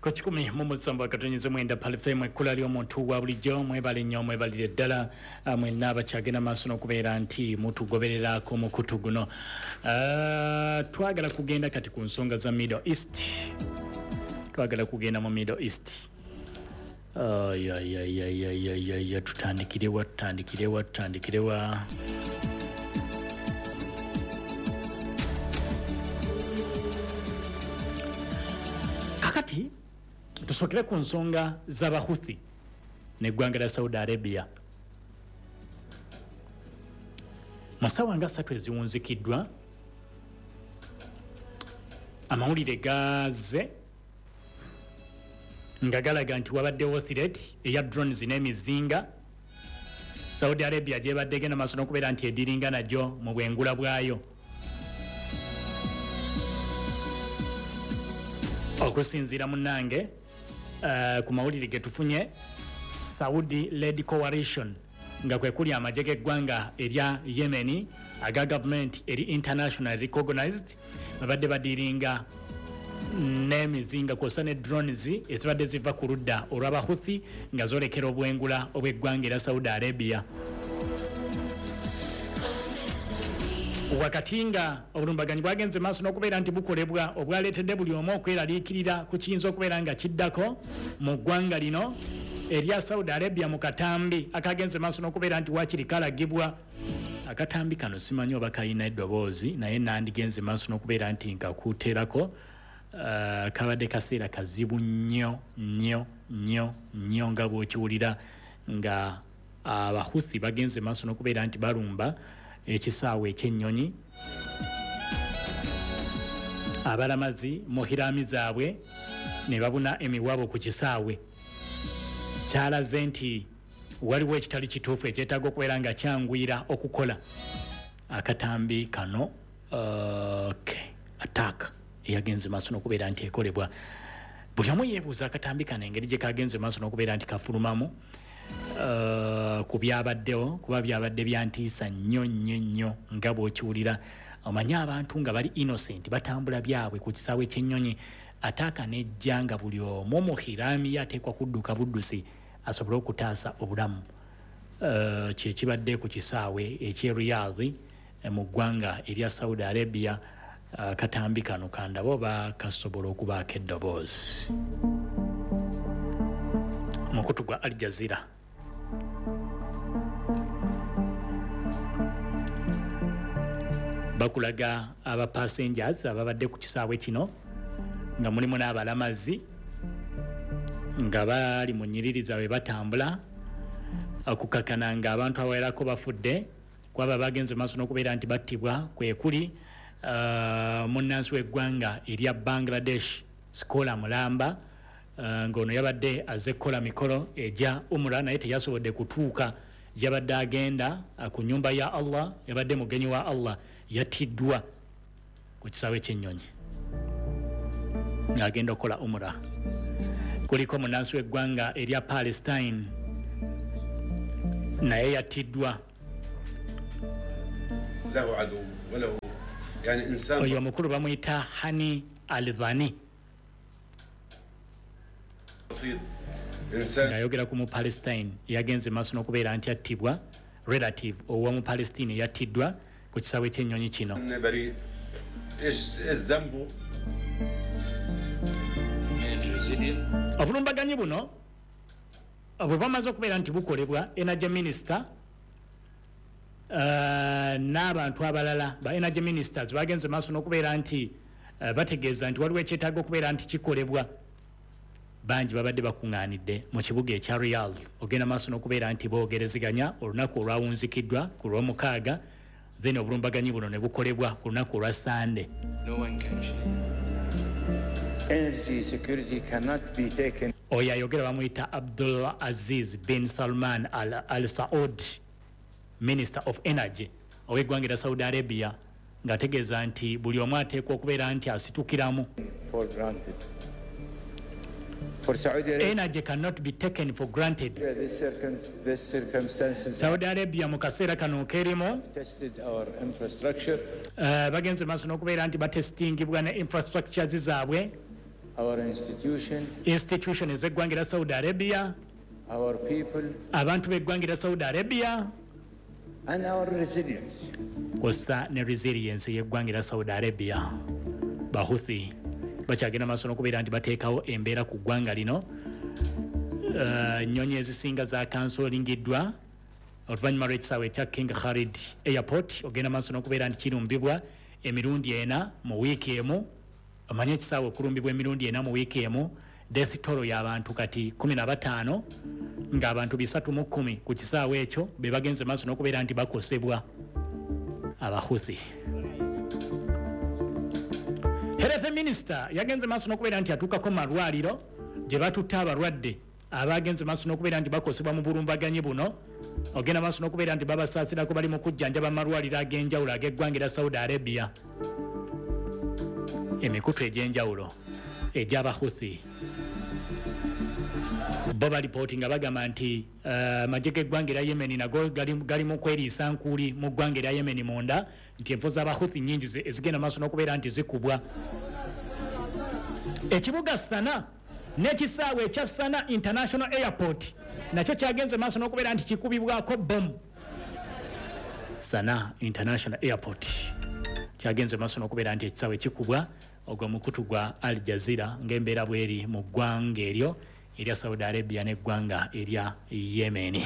Ku 107.9 Pearl FM, ekkula ly'omuntu wa bulijjo. Mwebale nnyo, mwebalire ddala mwenna abakyagenda maaso n'okubeera nti mutugoberera ku mukutu guno. Twagala kugenda kati ku nsonga za Middle East, twagala kugenda mu Middle East. Ayayayayayaya, tutandikirewa, tutandikirewa, tutandikirewa? Kakati tusokere ku nsonga z'Abahuthi neggwanga lya Saudi Arabia. Mu ssaawa nga 3 eziwunzikiddwa, amawulire gaze nga galaga nti wabaddewo threat eya drones n'emizinga Saudi Arabia gyebadde egenda maaso n'okubeera nti ediringa nagyo mu bwengula bwayo. Okusinziira munnange ku mawulire ge tufunye, Saudi led coalition, nga kwe kuli amagye g'eggwanga erya Yemeni aga gavumenti eri international recognized, babadde badiringa n'emizinga kwossa ne drones ezibadde ziva ku ludda olw'Abahuthi nga zoolekera obwengula obw'eggwanga erya Saudi Arabia. Wakati nga obulumbaganyi bwagenze maaso n'okubeera nti bukolebwa, obwaleetedde buli omu okweraliikirira ku kiyinza okubeera nga kiddako mu ggwanga lino erya Saudi Arabia, mu katambi akagenze maaso n'okubeera nti wakiri kalagibwa. Akatambi kano simanyi oba kalina eddoboozi, naye nandigenze maaso n'okubeera nti nkakuteerako. Kabadde kaseera kazibu nnyo nnyo nnyo nnyo, nga bw'okiwulira nga Abahuthi bagenze maaso n'okubeera nti balumba ekisaawe ekyennyonyi, abalamazi mu hiraami zaabwe ne babuna emiwabo ku kisaawe. Kyalaze nti waliwo ekitali kituufu ekyetaaga okubeera nga kyanguyira okukola. Akatambi kano, okay, attack eyagenze maaso n'okubeera nti ekolebwa, buli omu yeebuuza akatambi kano engeri gye kagenze maaso n'okubeera nti kafulumamu ku byabaddewo, kuba byabadde byantiisa nnyo nnyo nnyo, nga bw'okiwulira. Omanyi abantu nga bali innocent batambula byabwe ku kisaawe ky'ennyonyi, attack nejja nga buli omu mu hiraami ye ateekwa kudduka buddusi asobole okutaasa obulamu. Kyekibadde ku kisaawe eky'e Riyadh mu ggwanga erya Saudi Arabia. Akatambi kano kandaba oba kasobola okubaako eddoboozi. Mukutu gwa Al Jazeera. Bakulaga aba passengers ababadde ku kisaawe kino nga mulimu n'abalamazi nga bali mu nnyiriri zaabwe batambula, okukakana nga abantu abawerako bafudde. Kwaba bagenze maaso n'okubeera nti battibwa kwe kuli munnansi w'eggwanga erya Bangladesh, Sikola Mulamba, ng'ono yabadde azze kukola mikolo egya Umrah, naye teyasobodde kutuuka gyabadde agenda ku nnyumba ya Allah. Yabadde mugenyi wa Allah, yattiddwa ku kisaawe ky'ennyonyi ng'agenda okukola Umrah. Kuliko munnansi w'eggwanga erya Palestine, naye yattiddwa. له عدو وله يعني انسان. Oyo omukulu bamuyita Hani Alvani. بسيط انسان. Ng'ayogera ku mu Palestine yagenze maaso n'okubeera nti attibwa, relative owa mu Palestine yattiddwa ku kisaawe ky'ennyonyi kino. بريء، ايش ذنبه؟ And resilient. Obulumbaganyi buno bwe bwamaze okubeera nti bukolebwa, energy minister n'abantu abalala ba energy ministers bagenze maaso n'okubeera nti bategeeza nti waliwo ekyetaaga okubeera nti kikolebwa. Bangi babadde bakuŋŋaanidde mu kibuga ekya Riyadh ogenda maaso n'okubeera nti boogerezeganya olunaku olwawunzikiddwa ku Lwomukaaga, then obulumbaganyi buno ne bukolebwa ku lunaku olwa Sande. No one can change. Energy security cannot be taken Oyo ayogera bamuyita Abdul Aziz bin Salman Al Saud, Minister of Energy ow'eggwanga erya Saudi Arabia, ng'ategeeza nti buli omu ateekwa okubeera nti asitukiramu. for granted. For Saudi Arabia, Energy cannot be taken for granted. this circumstances Saudi Arabia mu kaseera kano kerimu tested our infrastructure bagenze maaso n'okubeera nti batestingibwa ne infrastructures zaabwe. Our institution, Institution ez'eggwanga erya Saudi Arabia, our people, abantu b'eggwanga erya Saudi Arabia, and our resilience. Kwossa ne resilience y'eggwanga erya Saudi Arabia. Bahuthi bakyagenda maaso n'okubeera nti bateekawo embeera ku ggwanga lino. Ennyonyi ezisinga zakansolingiddwa oluvannyuma lw'ekisaawe ekya King Khalid Airport ogenda maaso n'okubeera nti kirumbibwa emirundi 4 mu wiiki emu. Omanye ekisaawe okulumbibwa emirundi 4 mu wiiki emu, death toll y'abantu kati 15, ng'abantu 310 ku kisaawe ekyo be bagenze maaso n'okubeera nti bakosebwa Abahuthi. Health minister yagenze maaso n'okubeera nti atuukako mu malwaliro gye batutte abalwadde abagenze maaso n'okubeera nti bakosebwa mu bulumbaganyi buno, ogenda maaso n'okubeera nti babasaasirako, bali mu kujjanjaba amalwaliro ag'enjawulo ag'eggwanga erya Saudi Arabia. Emikutu egy'enjawulo egy'Abahuthi bo balipooti nga bagamba nti amagye g'eggwanga erya Yemen nago gali mu kweriisa nkuuli mu ggwanga erya Yemen munda, nti enfo z'Abahuthi nnyingi ezigenda maaso n'okubeera nti zikubwa. Ekibuga Sana n'ekisaawe ekya Sana International Airport nakyo kyagenze maaso n'okubeera nti kikubibwako bomu. Sana International Airport kyagenze maaso n'okubeera nti ekisaawe kikubwa. Ogwo mukutu gwa Al Jazeera ng'embeera bweri mu ggwanga eryo erya Saudi Arabia n'eggwanga erya Yemen.